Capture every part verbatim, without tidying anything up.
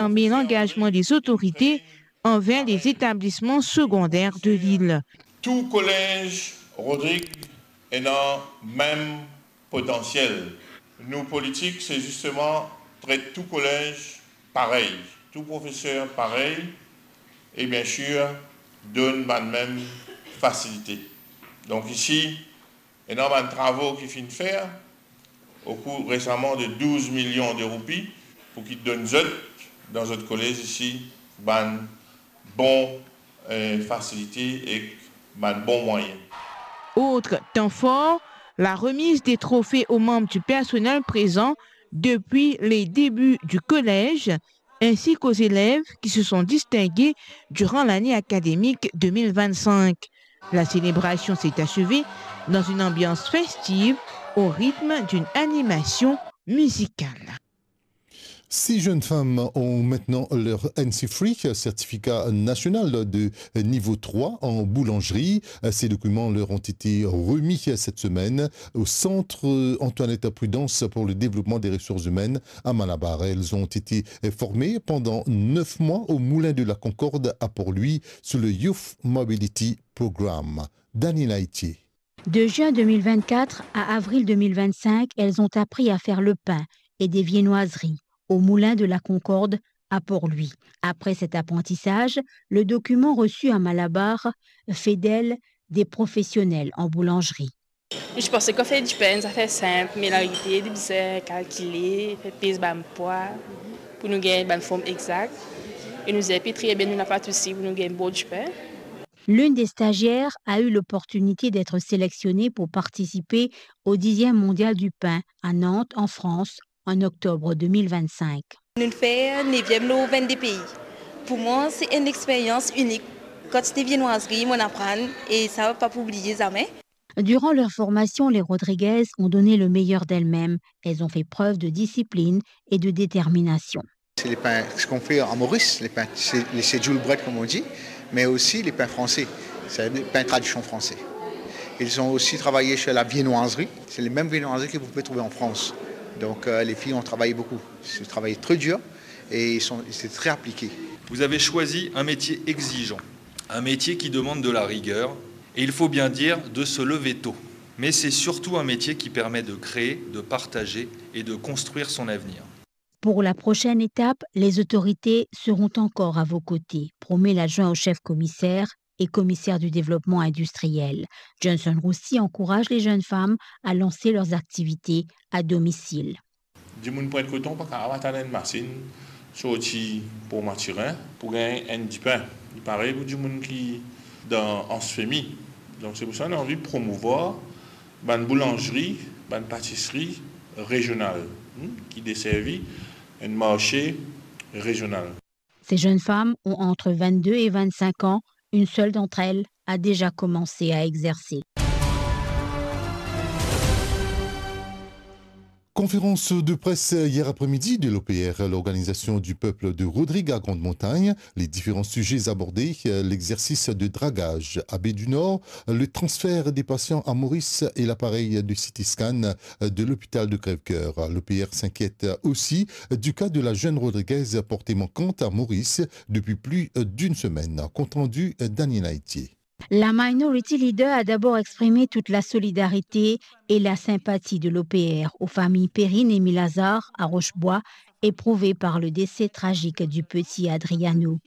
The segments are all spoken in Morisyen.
Parmi langazman lezotorite anver lezetablisman segonder de lil. Tou kolez Rodrig ena mem potansiel. Nou politik, se zisteman tret tou kolez parey, tou profeser parey, e biensir, donn bann mem fasilite. Donk isi, ena bann travo ki finn fer, okou resaman de douz milion de roupi, pou ki donn zot, dan zot kolez isi, bann bon, eh, fasilite ek bann bon mwayen. Autre temps fort, la remise des trophées aux membres du personnel présent depuis les débuts du collège, ainsi qu'aux élèves qui se sont distingués durant l'année académique deux mille vingt-cinq. La célébration s'est achevée dans une ambiance festive au rythme d'une animation musicale. Six jeunes femmes ont maintenant leur N C three, certificat national de niveau trois en boulangerie. Ces documents leur ont été remis cette semaine au Centre Antoinette Prudence pour le développement des ressources humaines à Malabar. Elles ont été formées pendant neuf mois au Moulin de la Concorde à Port-Louis sous le Youth Mobility Program. Dany Laitier. De juin deux mille vingt-quatre à avril deux mille vingt-cinq, elles ont appris à faire le pain et des viennoiseries au Moulin de la Concorde à Port-Louis. Après cet apprentissage, le document reçu à Malabar fait d'elles des professionnelles en boulangerie. Mo ti panse ki fer dipin, zafer sinp, me laverite, li bizin kalkile, fer pez bann pwa, pou nou gagn bann form exakt. E nou zep li tre bien, nou napa de sousi pou nou gagn bon dipin. L'une des stagiaires a eu l'opportunité d'être sélectionnée pour participer au dixième mondial du pain à Nantes, en France, en octobre deux mille vingt-cinq. Nou'nn fer neviem lor vennde pei. Pou mwa, se enn experyans inik. Kantite viennoiserie mo'nn aprann, e sa, pa pou bliye zame. Durant leur formation, les Rodriguez ont donné le meilleur d'elles-mêmes. Elles ont fait preuve de discipline et de détermination. C'est les pains, ce qu'on fait à Maurice, les pains, c'est les schedule bread comme on dit, mais aussi les pains français. C'est les pains tradition français. Ils ont aussi travaillé sur la viennoiserie. C'est les mêmes viennoiseries que vous pouvez trouver en France. Donc, euh, les filles ont travaillé beaucoup. C'est un travail très dur et ils sont, c'est très appliqué. Vous avez choisi un métier exigeant, un métier qui demande de la rigueur et, il faut bien dire, de se lever tôt. Mais c'est surtout un métier qui permet de créer, de partager et de construire son avenir. Pour la prochaine étape, les autorités seront encore à vos côtés, promet l'adjoint au chef commissaire et commissaire du développement industriel. Johnson Roussy encourage les jeunes femmes à lancer leurs activités à domicile. Dimoun pwint koton pa kapav atann enn masinn sorti Port Mathurin pou gagn enn dipin. Li parey pou dimoun ki dan Anse Femy. Donk se pou sa nou anvi promouvwar bann boulanzri, bann patisri rezional, hmm, ki deservi enn marse rezional. Ces jeunes femmes ont entre vingt-deux et vingt-cinq ans. Une seule d'entre elles a déjà commencé à exercer. Conférence de presse hier après-midi de l'O P R, l'Organisation du Peuple de Rodrigues à Grande Montagne. Les différents sujets abordés, euh, l'exercice de dragage à Baie du Nord, le transfert des patients à Maurice et l'appareil de C T scan, euh, de l'hôpital de Crèvecoeur. L'O P R s'inquiète aussi du cas de la jeune Rodriguaise portée manquante à Maurice depuis plus, euh, d'une semaine. Compte rendu, euh, Daniel Haïtier. La Minority Leader a d'abord exprimé toute la solidarité et la sympathie de l'O P R aux familles Perrine et Milazar à Roche-Bois, éprouvées par le décès tragique du petit Adriano.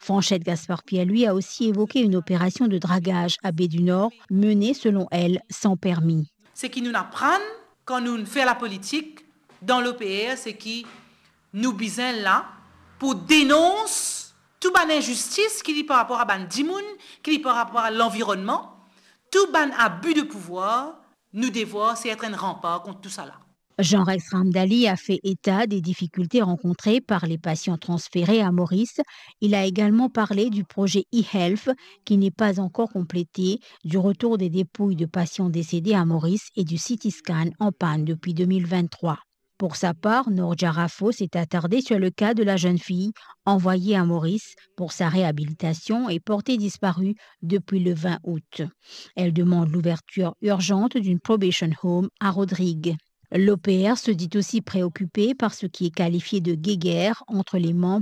Franchette Gaspard-Pierre, lui, a aussi évoqué une opération de dragage à Baie du Nord, menée, selon elle, sans permis. Seki nou'nn aprann kan nou'nn fer lapolitik dan l'O P R, seki nou bizin la pou denons tou bann inzistis ki li par rapor a bann dimoun, ki li par rapor a lanvironnman, tou bann abi de pouvwar. Nou devwar se et enn ranpar kont tousala. Jean-Rex Ramdali a fait état des difficultés rencontrées par les patients transférés à Maurice. Il a également parlé du projet e-health qui n'est pas encore complété, du retour des dépouilles de patients décédés à Maurice et du C T scan en panne depuis deux mille vingt-trois. Pour sa part, Noor Jarafo s'est attardée sur le cas de la jeune fille envoyée à Maurice pour sa réhabilitation et portée disparue depuis le vingt août. Elle demande l'ouverture urgente d'une probation home à Rodrigues. L'O P R se dit aussi préoccupé par ce qui est qualifié de guéguerre entre les membres